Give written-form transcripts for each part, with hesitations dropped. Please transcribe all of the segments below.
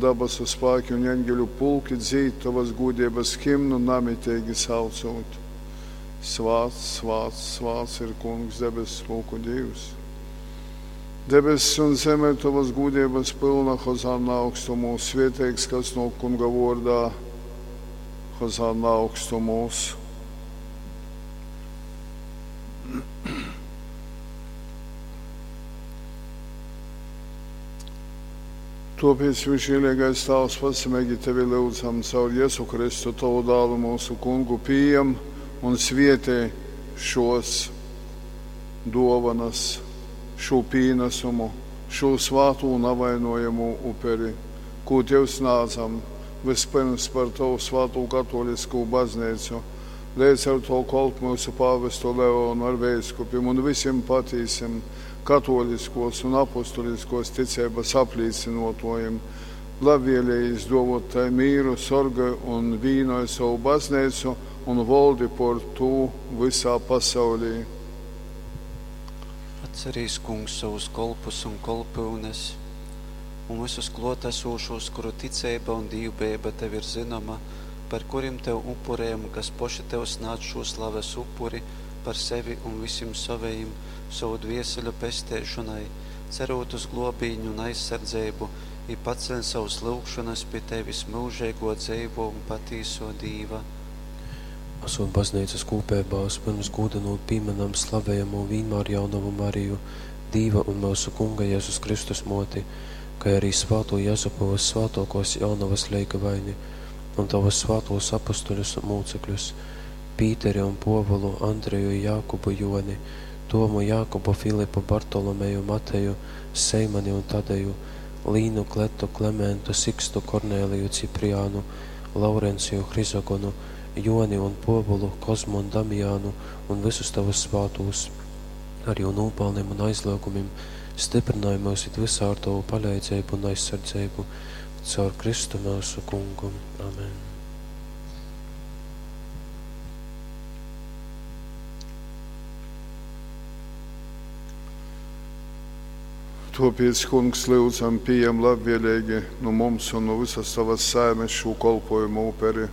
dabasu spāki un eņgeļu pulki dzīd tovas gūdeibas himnu namiteigi saucūt: Svāts, svāts, svāts ir Kungs, debesspulku Dīvs. Debess un zeme ir tovas gūdeibas pylna, hozanna augstumūs, svieteigs, kas nōk Kunga vōrdā, hozanna augstumūs. Tōpēc, visžieleigais Tāvs, pazemeigi tevi lyudzam caur Jezu Kristu, tovu dālu, mūsu kungu, pījam un svietej šos dōvanas, šū pīnasumu, šū svātū navainojamū uperi, kū tev snādzam, vyspyrms par tovu svātū katōliskū bazneicu, leidz ar to kolpu myusu pāvestu Leonu ar veiskupim un vysim patīsim katōliskos un apostuliskos ticeibas aplīcynōtōjim, labvēlējīs dōvōt tai mīru, sorgoj un vīnoj sovu bazneicu un voldi pōr tū vysā pasaulī. Atcerīs, Kungs, sovus kolpus un kolpyunes un vysus klōtasūšūs, kuru ticeiba un dīvbejeiba tev ir zynoma, par kurim tev upurejam un kas poši tev snādz šū slaves upuri par sevi un vysim sovejim sovu dvieseļu pesteišonai, cerūt uz glōbīni un aizsardzeibu, i paceļ sovys lyugšonys pi tevis, myužeigō, dzeivō un patīsō Dīva. Asūt bazneicas kūpeibā, vyspyrms gūdynūt pīmynam slavejamū Vīnmārjaunovu Mariju, Dīva un myusu Kunga Jezus Kristus Mōti, kai arī svātū Jezupu vyssvātōkōs Jaunovas leigavaini un tovus svātūs apustuļus un mūcekļus, Pīteri un Pōvulu, Andreju, Jākubu, Jōni, Tomu, Jākubu, Filipu, Bartolomeju, Mateju, Seimani un Tadeju, Līnu, Kletu, Klementu, Sikstu, Kornēliju, Cipriānu, Laurenciju, Hrizogonu, Jōni un Pōvulu, Kozmu un Damjānu un vysus tovus svātūs. Ar jū nūpalnim un aizlyugumim styprynoj myus it vysā ar tovu paleidzeibu un aizsardzeibu. Caur Kristu myusu Kungu. Amen. Tōpēc, Kungs, lyudzam, pījam labvēleigi nu mums un nu visas tavas saimes šū kolpojumu uperi.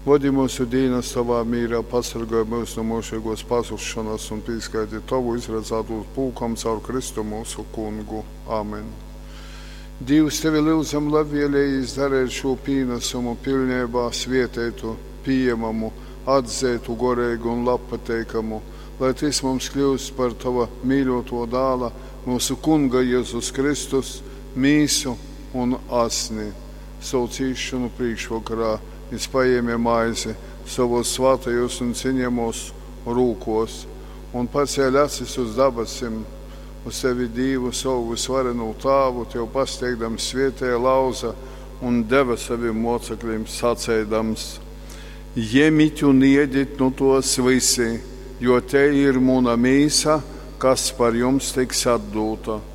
Vodi myusu dīnas tovā mīrā, pasorgoj myus nu myužeigōs pazusšonas un pīskaiti tovu izradzātūs pulkam caur Kristu myusu Kungu. Amen. Dīvs, tevi lyudzam labvēlējīs dareit šū pīnasumu pilneibā svieteitu, pījemamu, atzeitu, goreigu un labpateikamu, lai tys mums kļūst par tova mīļoto dāla, myusu Kunga Jezus Kristus, mīsu un asni. Savu cīšanu priekšvakarā jis paēmē maizi sovos svātajos un cienījamos rūkos un pacēla acis uz dabasim, uz tevi Dīvu savu vysvarenū Tāvu, tev pasteigdams svietēja lauza un deva savim mocekļiem saceidams: Jemit un iedit nu tos visi, jo te ir muna mīsa, kas par jums tiks atdūta.